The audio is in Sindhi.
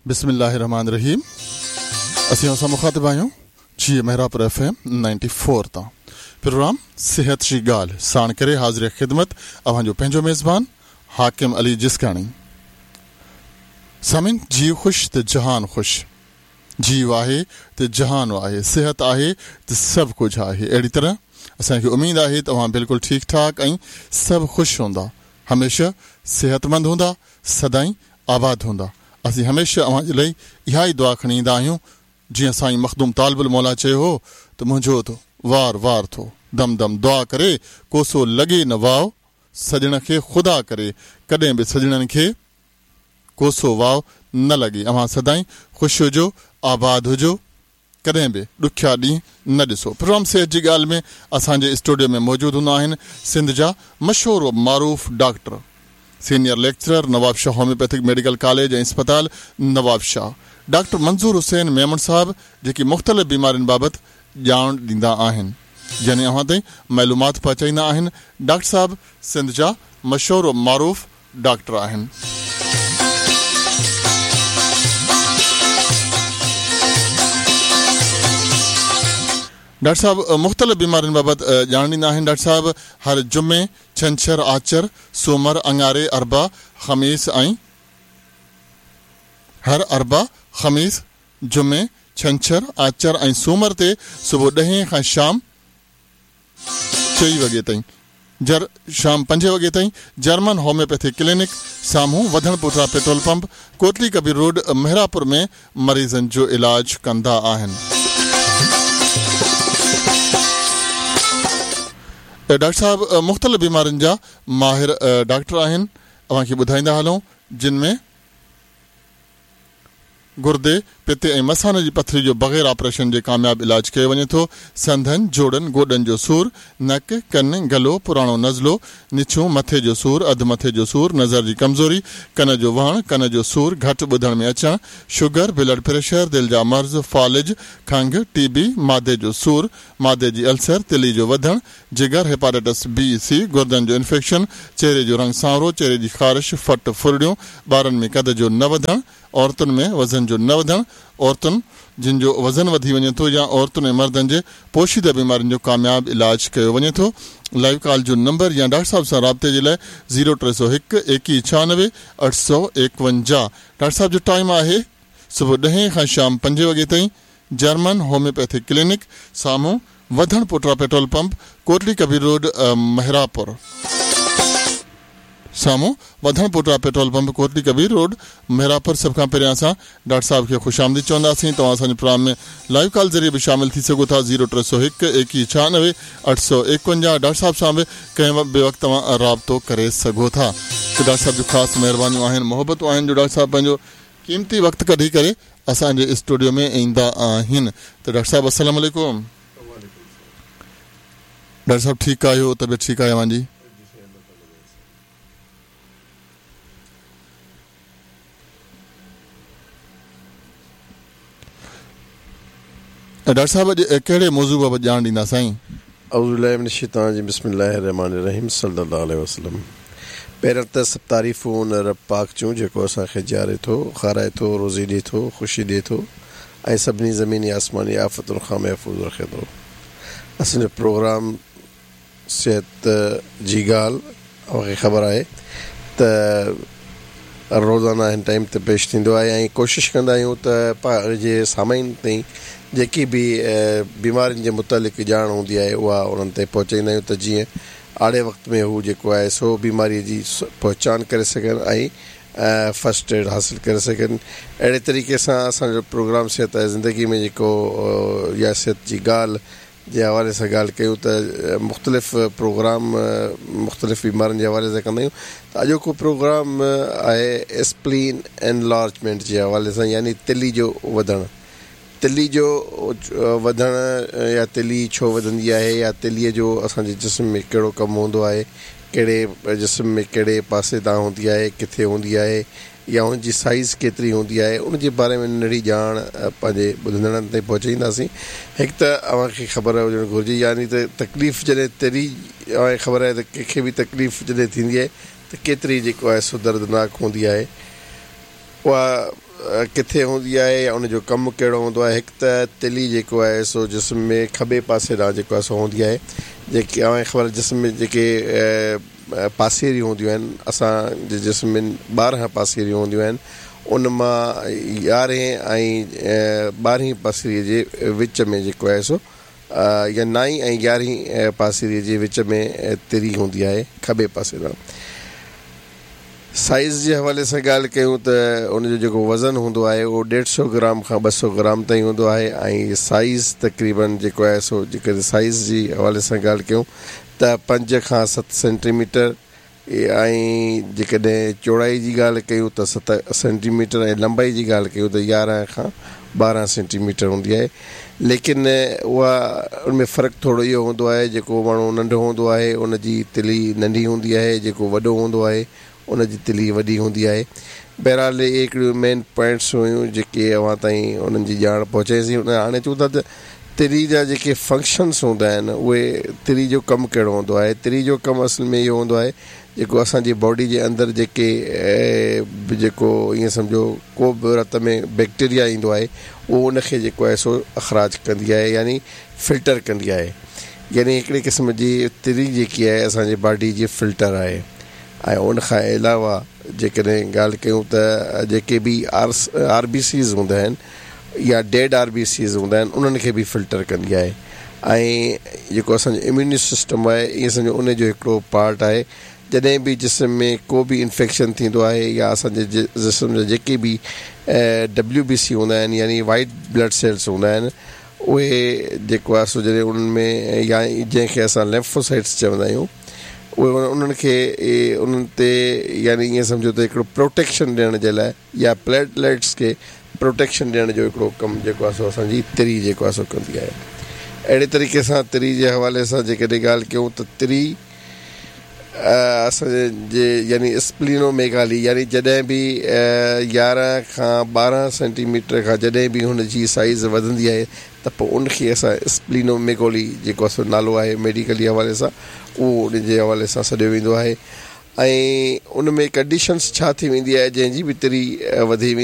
بسم الله الرحمٰن الرحيم اسين اوهان سان مخاطب آهيون جيئي Mehrabpur F M ninety four تان پروگرام صحت جي ڳالهه ساڻ ڪري حاضر خدمت اوهان جو پنهنجو ميزبان حاڪم علي جسڪاڻي سامعين جيء خوش ته جهان خوش جيء آهي ته جهان آهي صحت آهي ته سڀ ڪجهه آهي اهڙي طرح اسان کي اميد آهي ته اوهان بلڪل ٺيڪ ٺاڪ ۽ سڀ خوش هوندا هميشه صحتمند هوندا سدائين آباد هوندا. اسين هميشه اوهان جي لئي اها ئي دعا کڻي ايندا آهيون، جيئن سائين مخدوم طالب الموليٰ چيو هو ته منهنجو ته وار وار ٿو دم دم دعا ڪري ڪوسو لڳي نه واء سڄڻ کي خدا ڪري ڪڏهن به سڄڻن کي ڪوسو واء نه لڳي اوهان سدائين خوش هجو آباد هجو. ڪڏهن به ڏکيا ڏينهن نه ڏسو. پروگرام صحت جي ڳالهه ۾ اسان جي اسٽوڊيو ۾ موجود هوندا آهن سنڌ جا مشهور و معروف doctor, senior lecturer Nawabshah homeopathic medical college ۽ اسپتال نوابشاهه ڊاڪٽر منظور حسين ميمڻ صاحب جيڪي مختلف بيمارين بابت ڄاڻ ڏيندا آهن يعني اوهان تائين معلومات پهچائيندا آهن ڊاڪٽر صاحب سنڌ جا مشهور و معروف ڊاڪٽر آهن. ڊاڪٽر صاحب مختلف بيمارين بابت ڄاڻ ڏيندا آهن. ڊاڪٽر صاحب هر جمعي، ڇنڇر، آچر، سومر، اڱاري، اربع، خميس ۽ هر اربع، خميس، جمعي، ڇنڇر، آچر ۽ سومر تي صبح ڏهين کان شام چئين وڳي تائين جر شام پنجين وڳي تائين جرمن هوميوپيٿي ڪلينڪ سامهون وڌڻ پوٽرا پيٽرول پمپ ڪوٽلي ڪبير روڊ مهراپور ۾ مريضن جو علاج ڪندا آهن. ڊاڪٽر صاحب مختلف بيمارين جا ماهر ڊاڪٽر آهن اوهان کي ٻڌائيندا هلون جن ۾. گردي، پتي ۽ مثاني جي پٿري جو بغير آپريشن جي ڪامياب علاج ڪيو وڃي ٿو. سنڌن، جوڙن، گوڏن جو سور، نڪ، ڪن، گلو، پراڻو نزلو، نڇون، مٿي جو سور، اڌ مٿي جو سور، نظر جي ڪمزوري، ڪن جو وهڻ، ڪن جو سور، گهٽ ٻڌڻ ۾ اچڻ، شگر، بلڊ پريشر، دل جا مرض، فالج، کنگهه، ٽي بي، معدي جو سور، معدي جي السر، تلي جو وڌڻ، جگر، هيپاٽائٽس بي، سي، گردن جو انفيڪشن، چهري جو رنگ سانورو، چهري جي خارش، ڦٽ، ڦرڙيون، ٻارن ۾ قد جو نه وڌڻ، عورتن ۾ وزن جو نه وڌڻ، عورتن جن جو وزن وڌي وڃي ٿو يا عورتن ۽ مردن جي پوشيده بيمارين جو ڪامياب علاج ڪيو وڃي ٿو. لائيو ڪال جو نمبر يا ڊاڪٽر صاحب سان رابطي جي لاء زيرو 301 21 96 851 ڊاڪٽر صاحب جو ٽائيم آهي صبح ڏهين کان شام پنجين وڳي تائين جرمن هوميوپيٿڪ ڪلينڪ سامهون وڌڻ پوٽرا پيٽرول پمپ ڪوٽلي ڪبير روڊ مهراپور. سامهون وڌڻ پوٽرا پيٽرول پمپ ڪوٽلي ڪبير روڊ مهراپور سڀ کان پهريان اسان ڊاڪٽر صاحب کي خوش آمديد چونداسين توهان اسان جي پروگرام ۾ لائيو ڪال ذريعي به شامل ٿي سگهو ٿا زيرو 301 21 96 851 ڊاڪٽر صاحب سان به ڪنهن به وقت توهان رابطو ڪري سگهو ٿا ته ڊاڪٽر صاحب جون خاص مهربانيون آهن محبتون آهن جو ڊاڪٽر صاحب پنهنجو قيمتي وقت ڪڍي ڪري اسان جي اسٽوڊيو ۾ ايندا آهن ته ڊاڪٽر صاحب السلام عليڪم. ڊاڪٽر صاحب ٺيڪ آهيو طبيعت ٺيڪ آهي اوهان جي. ڊاڪٽر صاحب اڄ ڪهڙي موضوع بابت ڄاڻ ڏيندا سائين. اعوذ بالله من الشيطان الرجيم بسم الله الرحمٰن الرحيم صلي الله عليه وسلم پهريان ته سڀ تعريفون ان رب پاڪ جون جيڪو اسان کي جياري ٿو، کارائي ٿو، روزي ڏي ٿو، خوشي ڏي ٿو ۽ سڀني زميني آسماني آفتن کان محفوظ رکي ٿو. اسان جو پروگرام صحت جي ڳالهه اوهان کي خبر آهي ته روزانه هن ٽائيم تي پيش ٿيندو آهي ۽ ڪوشش ڪندا آهيون ته پنهنجي سامعين تائين جيڪي به بيمارين جي متعلق ڄاڻ هوندي آهي اها انهن تائين پهچائيندا آهيون ته جيئن آڙي وقت ۾ هو جيڪو آهي سو بيماري جي پهچان ڪري سگهن ۽ فرسٽ ايڊ حاصل ڪري سگهن اهڙي طريقي سان اسان جو پروگرام صحت آهي زندگي ۾ جيڪو يا صحت جي ڳالهه جي حوالي سان ڳالهه ڪيون ته مختلف پروگرام مختلف بيمارين جي حوالي سان ڪندا آهيون ته اڄوڪو پروگرام آهي اسپلين انلارجمينٽ جي حوالي سان يعني تلي جو وڌڻ تلي جو وڌڻ يا تلي ڇو وڌندي آهي يا تلي جو اسان جي جسم ۾ ڪهڙو ڪم هوندو آهي ڪهڙي جسم ۾ ڪهڙي پاسي تان هوندي آهي ڪٿي هوندي آهي يا ان جي سائيز ڪيتري هوندي آهي ان جي باري ۾ ننڍڙي ڄاڻ پنهنجي ٻڌندڙن تائين پهچائينداسين. هڪ ته اوهان کي خبر هجڻ گهرجي يعني ته تڪليف جڏهن تري اوهان کي خبر آهي ته ڪنهن کي به تڪليف جڏهن ٿيندي آهي ته ڪيتري جيڪو آهي سو دردناڪ هوندي آهي. اها ڪٿي هوندي آهي يا ان جو ڪم ڪهڙو هوندو آهي. هڪ ته تلي جيڪو آهي سو جسم ۾ کٻي پاسي ڏانهن جيڪو آهي سو هوندي آهي. جيڪي اوهان کي خبر جسم ۾ جيڪي پاسيريون هونديون آهن، اسان جي جسم ۾ 12 پاسيريون هونديون آهن، ان مان يارهين ۽ ٻارهين پاسيريء جي وچ ۾ جيڪو آهي سو يا نائين ۽ يارهين پاسيريء جي وچ ۾ تري هوندي آهي کٻي پاسي ڏانهن. سائيز جي حوالي سان ڳالهه ڪيون ته ان جو جيڪو وزن هوندو آهي اهو ڏيڍ سئو گرام کان 200 گرام تائين هوندو آهي ۽ سائيز تقريبن جيڪو آهي سو جيڪڏهن سائيز جي حوالي سان ڳالهه ڪيون ته 5 کان 7 سينٽي ميٽر ۽ جيڪڏهن چوڙائي جي ڳالهه ڪيون ته 7 سينٽي ميٽر ۽ لمبائي جي ڳالهه ڪيون ته 11 کان 12 سينٽي ميٽر هوندي آهي. ليڪن اها ان ۾ فرق ٿورو اهو هوندو آهي جيڪو ماڻهو ننڍو هوندو آهي ان جي تلي ننڍي هوندي آهي، جيڪو وڏو هوندو آهي ان جي تلي وڏي هوندي آهي. بهرحال اهي هڪڙيون مين پوائنٽس هيون جيڪي اوهان تائين انهن جي ڄاڻ پهچائيسين. هاڻي چون ٿا ته تري جا جيڪي فنڪشنس هوندا آهن اهي تري جو ڪم ڪهڙو هوندو آهي. تري جو ڪم اصل ۾ اهو هوندو آهي جيڪو اسان جي باڊي جي اندر جيڪي به جيڪو ائين سمجهو ڪو به رت ۾ بيڪٽيريا ايندو آهي اهو ان کي جيڪو آهي سو اخراج ڪندي آهي يعني فلٽر ڪندي آهي يعني هڪڙي قسم جي تري جيڪي آهي اسان جي باڊي جي فلٽر آهي ۽ ان کان علاوه جيڪڏهن ڳالهه ڪيون ته جيڪي به آر بي سيز هوندا آهن يا ڊيڊ آر بي سيز هوندا آهن انهن کي به فلٽر ڪندي آهي ۽ جيڪو اسان جو اميوني سسٽم آهي ائين سمجهو ان جو هڪڙو پارٽ آهي. جڏهن به جسم ۾ ڪو به انفيڪشن ٿيندو آهي يا اسان جي جسم جا جيڪي به ڊبليو بي سي هوندا آهن يعني وائيٽ بلڊ سيلس هوندا آهن اهي جيڪو آهي سو جڏهن انهن ۾ يا جنهن کي اسان ليمفوسائٽس چوندا آهيون اهي انهن کي انهن تي يعني ائين سمجهو ته هڪڙو پروٽيڪشن ڏيڻ جي لاء يا پليٽليٽس کي پروٽيڪشن ڏيڻ جو هڪڙو ڪم جيڪو آهي سو اسان جي تري جيڪو آهي سو ڪندي آهي. اهڙي طريقي سان تري جي حوالي سان جيڪڏهن ڳالهه ڪيون ته تري اسان جي يعني اسپلينو ميگالي يعني جڏهن به 11 کان 12 سينٽي ميٽر کان جڏهن به هن جي سائيز وڌندي آهي ته پوء ان کي اسان اسپلينو ميگولي جيڪو آهي سو نالو آهي ميڊيڪلي حوالي سان اهو ان جي حوالي سان سڏيو ويندو آهي. ۽ ان ۾ ڪنڊيشنس ڇا ٿي ويندي آهي جنهن جي به تري وڌي ويندي.